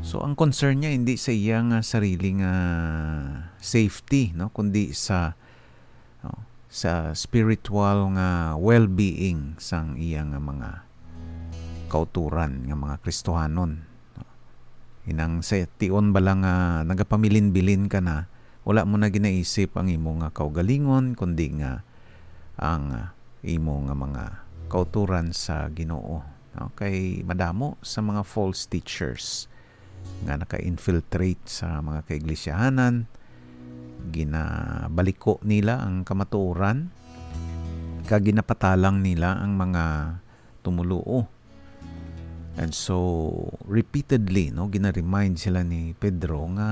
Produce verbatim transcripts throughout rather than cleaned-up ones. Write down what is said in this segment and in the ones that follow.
So, ang concern niya hindi sa iya nga sarili nga safety, no, kundi sa, no, sa spiritual nga well-being sang iya nga mga kauturan nga mga Kristohanon, no? Inang sa tion bala nga nagapamilin-bilin ka na, wala mo na ginaisip ang imo nga kaugalingon, kundi nga ang, ah, imo nga mga kauturan sa Ginoo, no? Kay madamo sa mga false teachers nga naka-infiltrate sa mga kaiglesyaanan, ginabaliko nila ang kamatuoran, kag ginapatalang nila ang mga tumoluo. And so, repeatedly, no, gina-remind sila ni Pedro nga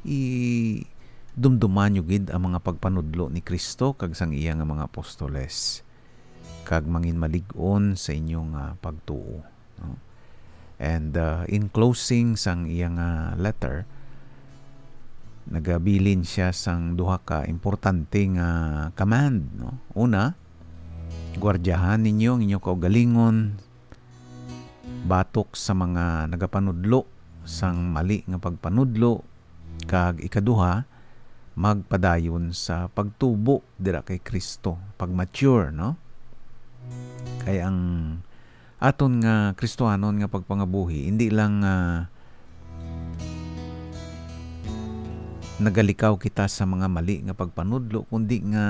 i-, dumduman nyo gid ang mga pagpanudlo ni Cristo kag sang iya nga mga apostoles, kag manginmalig-on sa inyo nga pagtuo, no? And, uh, in closing sang iya nga letter, nagabilin siya sang duha ka importante nga command, no? Una, guardiyahan ninyo ang inyo kaugalingon batok sa mga nagapanudlo sang mali nga pagpanudlo, kag ikaduha, magpadayon sa pagtubo dira kay Cristo, pag-mature, no? Kay ang aton nga Kristohanon nga pagpangabuhi, hindi lang, ah, nagalikaw kita sa mga mali nga pagpanudlo, kundi nga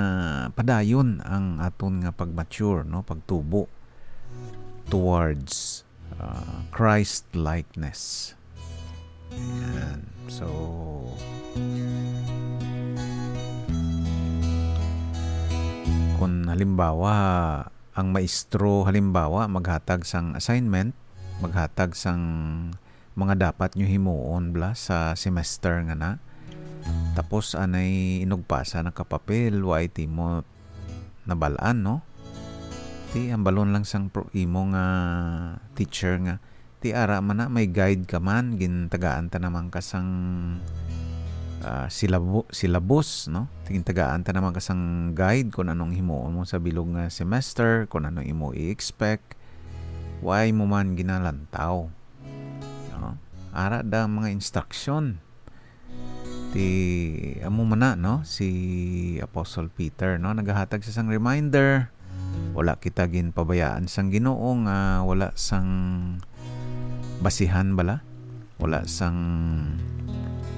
padayon ang aton nga pag-mature, no, pagtubo towards, ah, Christ-likeness. Ayan. So, kung halimbawa, ang maestro, halimbawa, maghatag sang assignment, maghatag sang mga dapat nyo himuon bala sa semester nga na. Tapos, anay inugpasa na ka papel, wa ti mo nabal-an, no? Ti, hambalon lang sang pro-, imo nga teacher nga, ti, ara man na, may guide ka man, gintagaan ta naman ka sang, ah, silabu-, syllabus, no? Ti, gintagaan ta naman ka sang guide kung anong himuon mo sa bilog nga semester, kung ano imo i-expect. Why mo man ginalantaw? No? Ara da ang mga instruction. Ti, amo man na, no? Si Apostle Peter, no? Nagahatag sa sang reminder. Wala kita ginpabayaan sang Ginoo nga wala sang basihan bala. Wala sang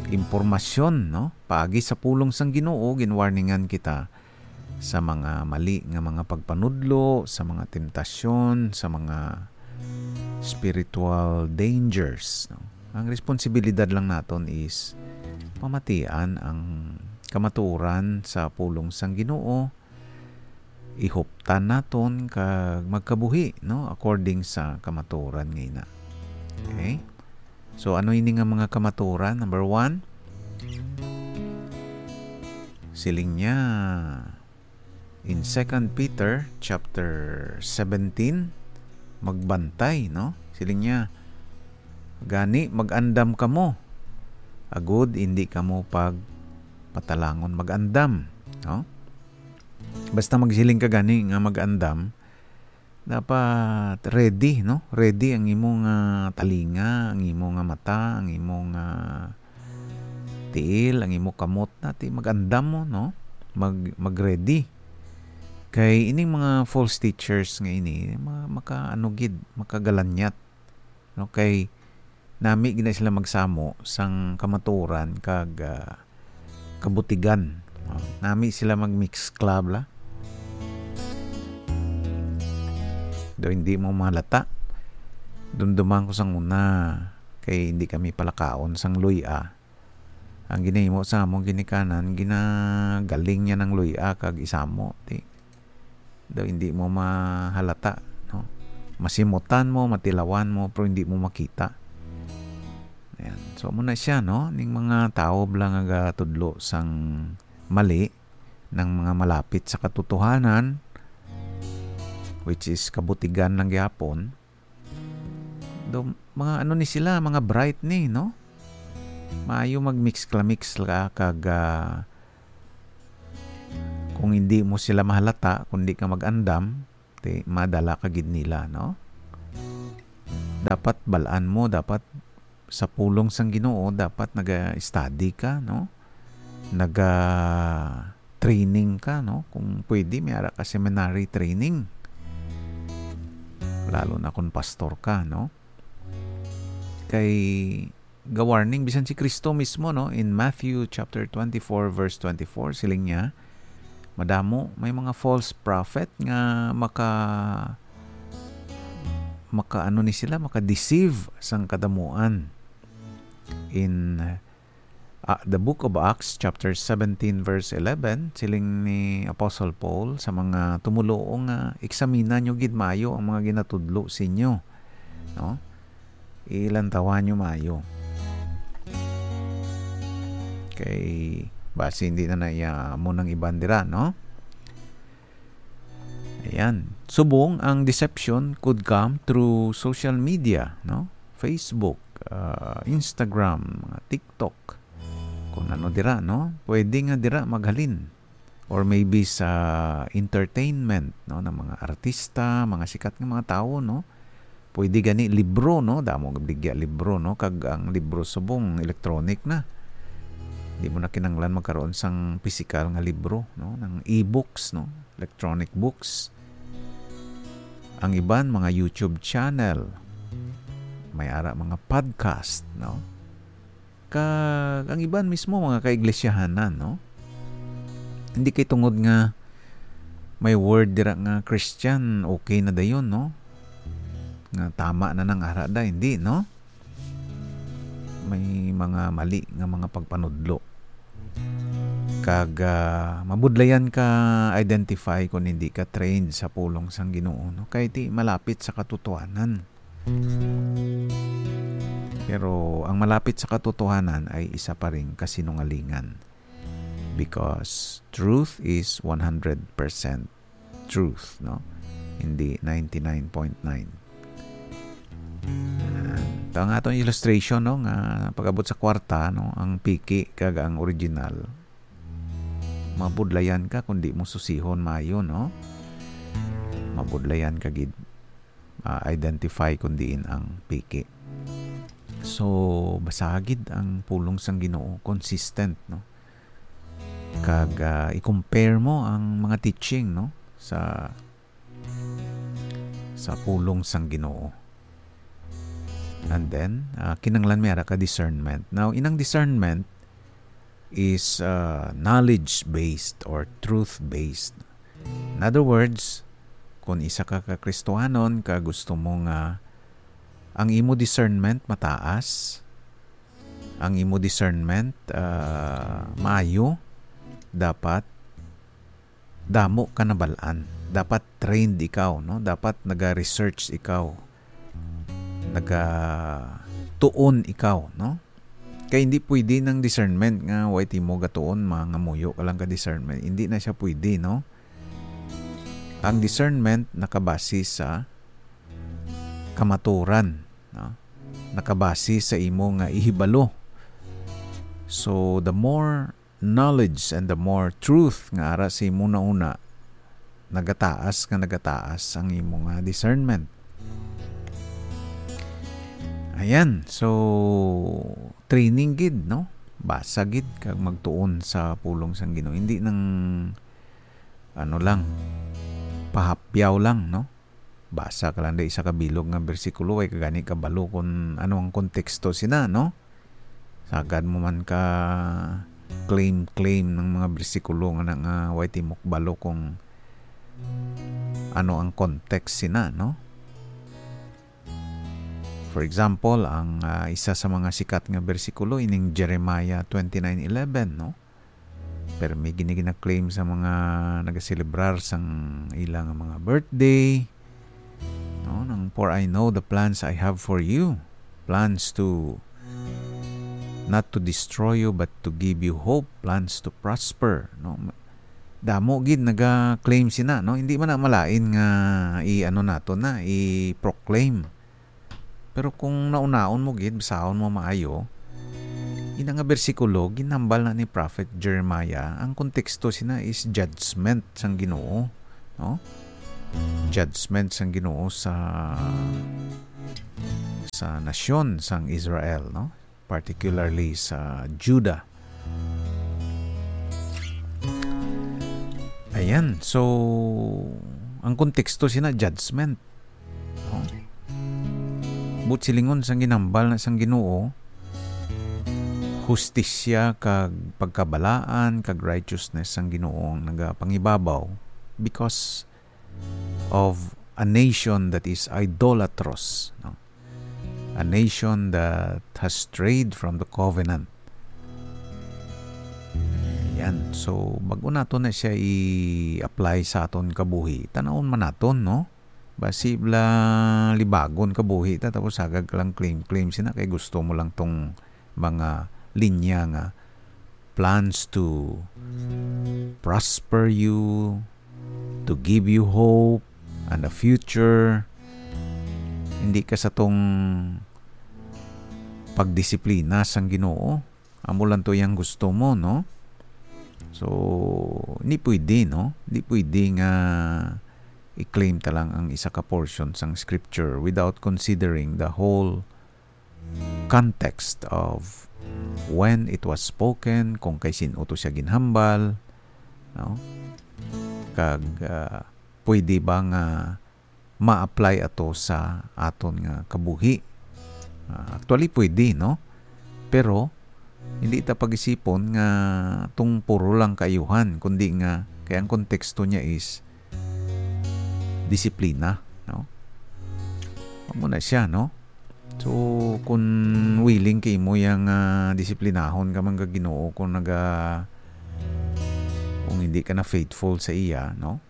impormasyon, no? Paagi sa pulong sang Ginoo, ginwarningan kita sa mga mali nga mga pagpanudlo, sa mga temptasyon, sa mga spiritual dangers, no? Ang responsibilidad lang naton is pamatian ang kamatuoran sa pulong sang Ginoo, ihuptan naton kag magkabuhi, no, according sa kamatuoran nga ina. Okay? So, ano ini nga mga kamatuoran? Number one, siling niya in Second Peter chapter seventeen, magbantay, no? Siling niya, "Gani, mag-andam kamo, agud indi kamo pagpatalangon." Mag-andam, no? Basta magsiling ka gani nga mag-andam, dapat ready, no? Ready ang imo nga talinga, ang imo nga mata, ang imo nga tiil, ang imo kamot na, ti mag-andam mo, no? Mag-, mag-ready. Kay ining mga false teachers nga ini, ma-, maka-, ano gid, makagalanyat, no? Kay nami gid na sila magsamo sang kamatuoran kag, ah, kabutigan. Oh, nami sila mag-mix club la. Do hindi mo malata. Dumduman ko sang una kay hindi kami palakaon sang luy-a. Ang ginahimo sa among ginikanan, ginagaling niya ng luy-a kag isamo. Ti, daw hindi mo mahalata, no? Masimutan mo, matilawan mo, pero hindi mo makita. Ayan. So, amo na siya, no? Ning mga tawo bala nga gatudlo sang mali, ng mga malapit sa katotohanan, which is kabutigan lang gyapon. Do, mga ano ni sila, mga bright ni, no? Maayo mag-mix-klamix la kag, ah, kung hindi mo sila mahalata, kung di ka mag-andam, ti, madala ka gid nila, no? Dapat balaan mo, dapat sa pulong sang Ginoo, dapat naga-study ka, no? Naga-training ka, no? Kung pwede, may ara ka seminary training. Lalo na kung pastor ka, no? Kay ga-warning bisan si Kristo mismo, no? In Matthew chapter twenty-four, verse twenty-four, siling niya, "Madamo, may mga false prophet nga maka-, maka-, ano ni sila, maka-deceive sang kadamuan." In, ah, the book of Acts, chapter seventeen, verse eleven, siling ni Apostle Paul sa mga tumoluo nga, "Eksamina nyo gid maayo ang mga ginatudlo sinyo," no? Ilantawa nyo maayo. Kay basi hindi na naiya mo ng iban dira, no? Ayan. Subong ang deception could come through social media, no? Facebook, ah, Instagram, mga TikTok. Kung ano dira, no? Pwede nga dira maghalin. Or maybe sa entertainment, no? Ng mga artista, mga sikat nga mga tawo, no? Pwede gani libro, no? Damo gabligya libro, no? Kag ang libro subong electronic na. Di mo na kinanglan magkaroon sang pisikal nga libro, no? Ng e-books, no? Electronic books. Ang iban, mga YouTube channel. May ara mga podcast, no? Kag ang iban mismo, mga kaiglesyahanan, no? Hindi kay tungod nga may word dira nga Christian, okay na dayon, no? Nga tama na nang ara da, hindi, no? May mga mali nga mga pagpanudlo. Kag, ah, mabudlayan ka identify kung hindi ka trained sa pulong sang Ginoo, no? Kay ti malapit sa katotohanan. Pero ang malapit sa katotohanan ay isa pa ring kasinungalingan. Because truth is one hundred percent truth, no? Hindi ninety-nine point nine. Ayan. Ito ang atong illustration, no, nga pag-abot sa kwarta, no, ang piki kag ang original, mabudlayan ka kung di mo susihon maayo, no? Mabudlayan ka gid, ah, identify kung diin ang piki. So, basaha gid ang pulong sang Ginoo, consistent, no? Kag, ah, i-compare mo ang mga teaching, no, sa, sa pulong sang Ginoo. And then, ah, kinahanglan may ara ka discernment. Now, inang discernment is, ah, knowledge-based or truth-based. In other words, kung isa ka ka Kristohanon ka gusto mo nga ang imo discernment mataas, ang imo discernment, ah, maayo, dapat damo ka nabal-an. Dapat trained ikaw, no? Dapat naga-research ikaw. Naga-tuon ikaw, no? Kay hindi pwede ng discernment nga way ti mo gatuon, mangamuyo ka lang ka discernment. Hindi na siya pwede, no? Ang discernment nakabase sa kamaturan, no? Nakabase sa imo nga ihibalo. So, the more knowledge and the more truth nga ara sa imo nauna, nagataas nga nagataas ang imo nga discernment. Ayan, so training gid, no? Basa gid kag magtuon sa pulong sang Ginoo. Hindi nang ano lang, pahapyaw lang, no? Basa ka lang da isa ka bilog nga bersikulo, ay ka gani kabalo kung ano ang konteksto sina, no? Sagad mo man ka claim-claim ng mga bersikulo nga na, nga way ti mo kabalo kung ano ang context sina, no? For example, ang, ah, isa sa mga sikat nga bersikulo ining Jeremiah twenty-nine eleven, no? Pero may gini gina-claim sa mga nagaselebrar sang ila nga mga birthday, no? Nang, "For I know the plans I have for you, plans to, not to destroy you, but to give you hope, plans to prosper," no? Damo gid naga-claim sina, no? Hindi man na malain nga i-ano nato na, i-proclaim. Pero kung naunaon mo gid, basahon mo maayo, ina nga bersikulo, ginhambal na ni Prophet Jeremiah, ang konteksto sina is judgment sang Ginoo, no? Judgment sang Ginoo sa sa nasyon sang Israel, no? Particularly sa Judah. Ayan, so, ang konteksto sina judgment. No? Buot silingon, sang ginhambal na sang Ginoo, hustisya kag pagkabalaan kag righteousness sang Ginoo ang nagapangibabaw because of a nation that is idolatrous, no? A nation that has strayed from the covenant. Yan. So, bago nato na siya i-apply sa aton kabuhi, tanawon man naton, no? Basi bala libagon kabuhi ta, tapos sagad ka lang claim-claim sina kay gusto mo lang tong mga linya nga plans to prosper you, to give you hope and a future. Hindi ka sa tong pagdisiplina sang Ginoo. Amo lang to yang gusto mo, no? So, hindi pwede, no? Hindi pwede nga i-claim ta lang ang isa ka portion sang scripture without considering the whole context of when it was spoken, kung kay sin-o to siya ginhambal, no? Kag, ah, pwede ba nga ma-apply ato sa aton nga kabuhi? Ah, actually, pwede, no? Pero, hindi ta pag-isipon nga tong puro lang kaayuhan, kundi nga kay ang konteksto niya is disiplina, no? Amo na siya, no? So, kung willing kay mo yang, ah, disiplinahon ka man ka Ginoo kung naga-, kung hindi ka na faithful sa iya, no?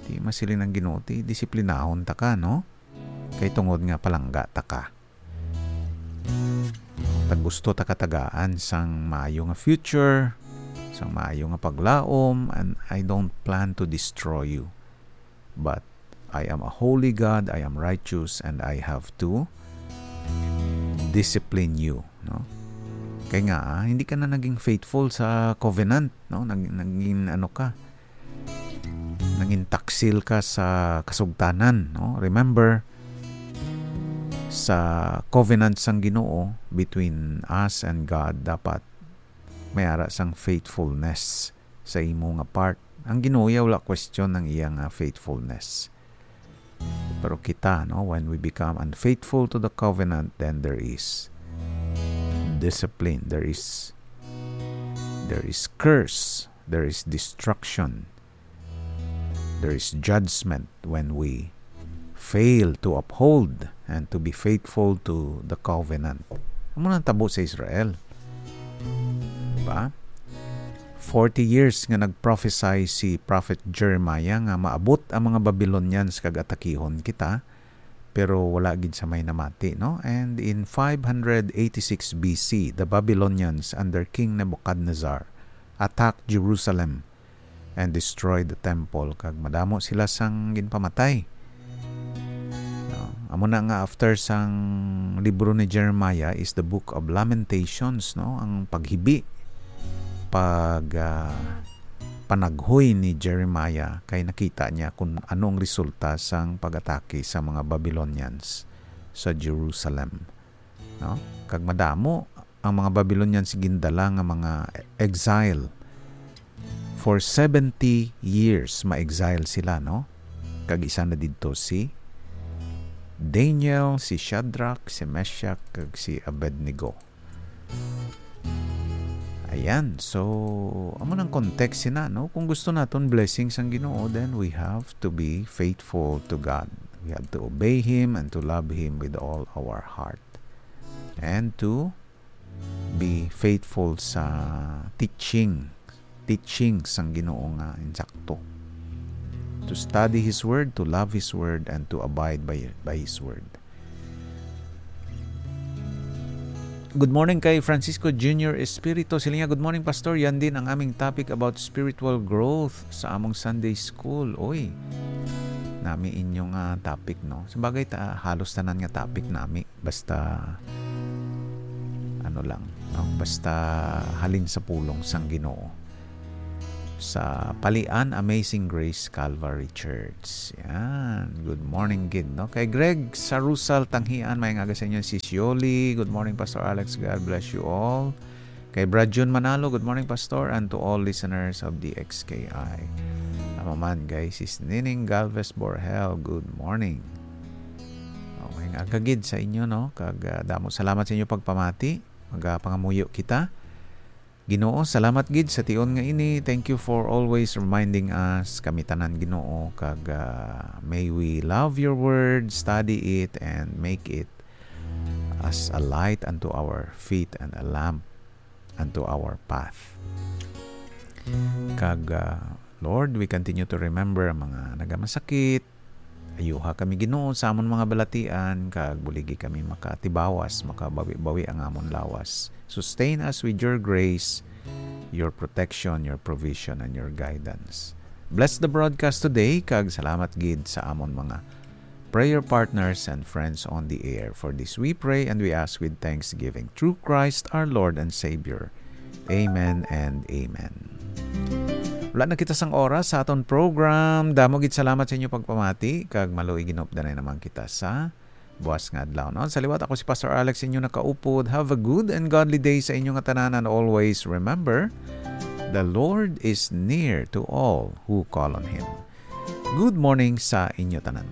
Di masiling ang Ginoo, ti disiplinahon ta ka, no? Kay tungod nga palangga ta ka. Tag gusto ta katagaan sang maayo nga future, sang maayo nga paglaom, and I don't plan to destroy you. But I am a holy God, I am righteous, and I have to discipline you, no? Kay nga, ah, hindi ka na naging faithful sa covenant, no? Nag-, naging ano ka, nangin taksil ka sa kasugtanan, no? Remember, sa covenant sang Ginoo between us and God, dapat may ara sang faithfulness sa imo nga part. Ang Ginoo iya wala question ang iya nga faithfulness. Pero kita, no, when we become unfaithful to the covenant, then there is discipline, there is, there is curse, there is destruction, there is judgment when we fail to uphold and to be faithful to the covenant. Amo nang tabo sa Israel. Diba? Forty years nga nag-prophesy si Prophet Jeremiah nga maabot ang mga Babylonians kag atakihon kita, pero wala gid sa may namati, no? And in five hundred eighty-six B C, the Babylonians under King Nebuchadnezzar attacked Jerusalem and destroyed the temple, kag madamo sila sang ginpamatay. No? Amo na nga after sang libro ni Jeremiah is the Book of Lamentations, no? Ang paghibi, pag, ah, panaghoy ni Jeremiah kay nakita niya kung ano ang resulta sang pag-atake sa mga Babylonians sa Jerusalem, no? Kag madamo ang mga Babylonians gindala nga mga exile. For seventy years, ma-exile sila, no? Kag isa na didto si Daniel, si Shadrach, si Meshach, kag si Abednego. Ayan. So, amo nang context sina, no? Kung gusto naton blessings ang Ginoo, then we have to be faithful to God. We have to obey Him and to love Him with all our heart. And to be faithful sa teaching, teaching sang Ginoo nga insakto. To study His Word, to love His Word, and to abide by, by His Word. Good morning kay Francisco Junior Espirito. Siling niya, "Good morning, Pastor. Yan din ang aming topic about spiritual growth sa among Sunday school." Oy, nami inyong, ah, topic, no? Sa bagay, ta-, halos tanan nga topic nami. Basta, ano lang, no? Basta halin sa pulong sang Ginoo. sa Palian Amazing Grace Calvary Church. Yan. Good morning gid, no? Kay Greg Sarusal Tanghian, may aga sa inyo, Sis Yoli. Good morning, Pastor Alex. God bless you all. Kay Brad Jun Manalo, good morning, Pastor, and to all listeners of the X K I. Amo man, guys, Sis Nining Galvez Borhel, good morning. Okay, nga agagid sa inyo, no? Kag, ah, damo salamat sa inyo pagpamati. Magapangamuyo kita. Ginoo, salamat gid sa tion nga ini. Thank you for always reminding us, kami tanan, Ginoo, kag, ah, may we love your word, study it, and make it as a light unto our feet and a lamp unto our path. Kag, ah, Lord, we continue to remember ang mga nagamasakit. Ayuha kami, Ginoo, sa amon mga balatian, kag buligi kami makatibawas, makabawi-bawi ang amon lawas. Sustain us with your grace, your protection, your provision, and your guidance. Bless the broadcast today, kag salamat gid sa amon mga prayer partners and friends on the air. For this we pray and we ask with thanksgiving through Christ our Lord and Savior. Amen and amen. Wala na kita sang oras sa aton program. Damo gid salamat sa inyo pagpamati, kag maluoy ginupdanay naman kita sa buas nga adlaw, no? Sa liwat, ako si Pastor Alex, inyo nakaupod. Have a good and godly day sa inyo nga tanan, and always remember, the Lord is near to all who call on Him. Good morning sa inyo tanan.